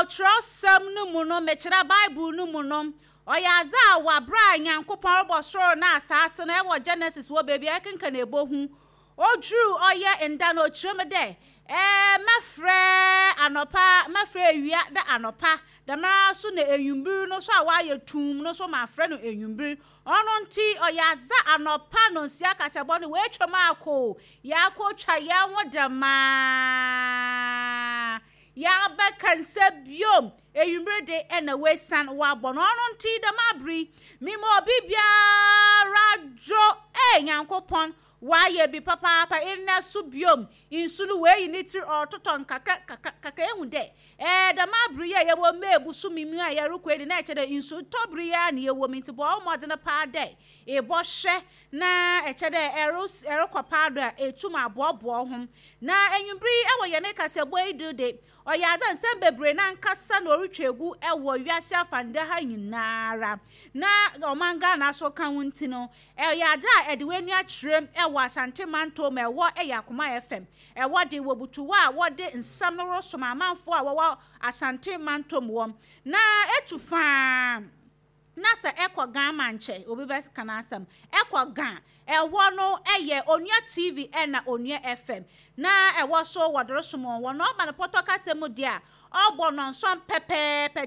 Wɔ kyerɛwsɛm no mu no, mekyerɛ Bible no mu no, ɔyɛ adze a wɔ aber a Nyankopɔn robɔ sor na asaase no, wɔ Genesis wɔ beebi a ekenkan ebohu, Odur ɔyɛ nda no ɔkyerɛ mu dɛ, Ɛɛ, mɛfrɛ anɔpa, mɛfrɛ ewia dɛ anɔpa, dɛmara so na ewimbir no so a ɔayɛ tumm no so mafrɛ no ewimbir. Ɔno ntsi ɔyɛ adze a anɔpa nonsia kasabɔ no woetwa mu akɔ o, yɛakotwa hɛnho dɛmaa, yɛabɛka nsa bio, ewimbir de nna woesian wɔabɔ no. Ɔno ntsi dɛm aber yi, mema obi biara dwo, ee Nyankopɔn, Ɔayɛ bi papaapa ndɛ so biom, nsu no oeyi ne tsir ɔrototɔ nkakra nkakra nkakra ehu dɛ ɛɛ dɛm aber yi a yɛwɔ May bosome mu a yɛrokɔ yi de na ɛkyerɛ dɛ nsu tɔ ber yi ara na yɛwɔ mu ntsi bɔ wo mbɔdzen paa dɛ ebɔhwɛ na ɛkyerɛ dɛ erokɔ paa do a etum aboaboa woho. Na ewimbir yi wɔ hɛn kasabɔ yi do de ɔyɛ adze a nsɛm beberee nankasa na orutwa egu wɔ wiase afanda ha nyinara na ɔman Ghana so ka ho ntsi no Ɛyɛ ade a ɛde w'ani akyerɛm wɔ Asante Manto ma ɛwɔ yɛ Akoma FM. Ɛwɔ de wɔ butuwɔ a wɔde nsɛm no resom amanfoɔ a wɔwɔ Asante Mantom wɔ. Na etu faa na sɛ ɛkɔ Ga mankyɛ obi bɛka n'asɛm. Ɛkɔ Ga ɛhɔ no ɛyɛ Onua TV ɛna Onua FM. Na ɛwɔ so wɔde resom wɔn wɔ na ɔba no pɔtɔ kasa mu deɛ a Ɔbɔ nnɔnson pɛpɛɛpɛ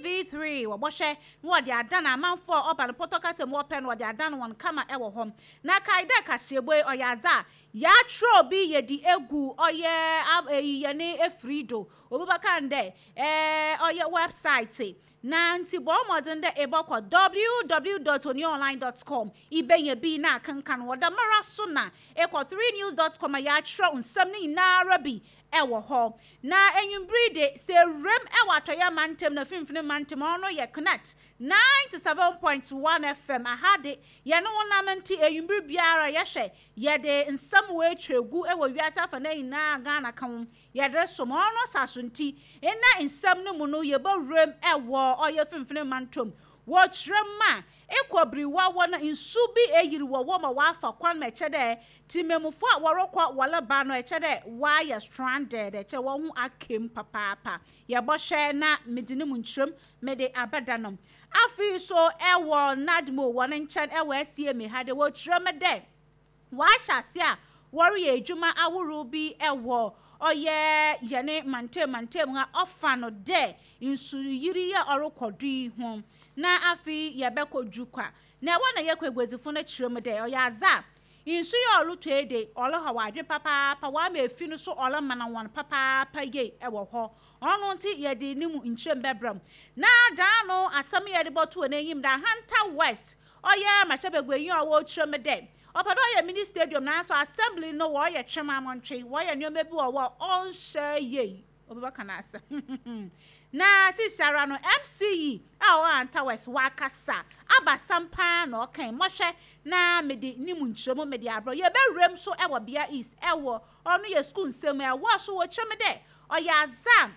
TV3 wɔbɔhwɛ na wɔde adan amanfoɔ a ɔba no pɔtɔ kasa mu wɔpɛ no wɔde adan wɔn kama wɔ hɔ. Na kae dɛ kaseɛbɔ yi ɔyɛ adze a yɛatwerɛ bi yɛde egu ɔyɛ eyi yɛne efiri do obi bɛka no dɛ ɛɛ ɔyɛ wɛbsaete na ntsi bɔ mbɔdzen dɛ ebɔkɔ www dot onionline dot com ibenya bi na akenkan wɔ dɛmara so na ekɔ threenews dot com a yɛatwerɛ nsɛm no nyinara bi wɔ hɔ. Na ewimbir de, sɛ wuram wɔ Atɔeɛ Mantam na Finimfini Mantam, ɔno yɛ Connect 97.1 FM. Aha de, yɛne wo nam nti ewimbir biara yɛhwɛ, yɛde nsɛm woetwa egu wɔ wiase afanan nyinaa Ghana ka ho, yɛde resom. Ɔno saso nti, nna nsɛm no mu no yɛbɔwuram wɔ ɔyɛ Finimfini Mantam. Wɔkyerɛ mu a, ekɔ biriwa wɔ na nsu bi eyir wɔ hɔ ma wɔafa kwan ma ɛkyɛ dɛ Tsemammufo a wɔrokɔ wɔreba no, ɛkyerɛ dɛ wɔayɛ stranded, ɛkyerɛ hɔnho aka mu papaapa. Yɛbɔhwɛ na medze no mu nkyerɛmu mede abɛda no. Afei so wɔ NADMO hɔn nkyɛn wɔ SCMA ha de, wɔkyerɛ me dɛ wɔahyɛ ase a wɔreyɛ edwuma ahorow bi wɔ ɔyɛ hɛn mantamu mantamu ha ɔfa no dɛ nsuyirii yi a ɔrokɔ do yi ho. Na afei yɛbɛkɔ Jukwa. Na ɛhɔ na yɛkɔ eguadzifo no kyerɛ mu dɛ ɔyɛ adze a Nsu yi a ɔrotɔ yi de, ɔrehaw adwen papaapa, ɔama efi no so ɔremana hɔn papaapa yie wɔ hɔ. Ɔno ntsi yɛdze no mu nkyerɛmu bɛbrɛ mo. Na daano asɛm yi a yɛdze bɔto hɔn enyim dɛ Ahanta West ɔyɛ mmarahyɛbaguanyi a ɔwɔ kyerɛ mu dɛ ɔpɛ dɛ ɔyɛ mini stadium naaso assembly no wɔreyɛ twemamontwe, wɔreyɛ nneɛma bi wɔ hɔ a ɔnnhyɛ yie. Obi bɛka n'asɛm. Na sisiara no, MC yi a ɔwɔ Ahanta West, wakasa abasam paa na ɔkae. Mɔhwɛ na mede ne mu nkyerɛmu mede abrɛ. Yɛbɛwura mu so wɔ Bea East, ɛwɔ ɔno yɛ sukuu nsɛm mu. Ɛwɔ so wɔkyerɛ me dɛ ɔyɛ adze a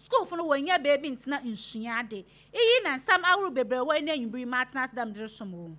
sukuufo no wɔnnya beebi ntsena nsua ade. Iyi na nsɛm ahorow bebree wɔ ndɛ ewimbir yi matena ase dɛ mede resom wo.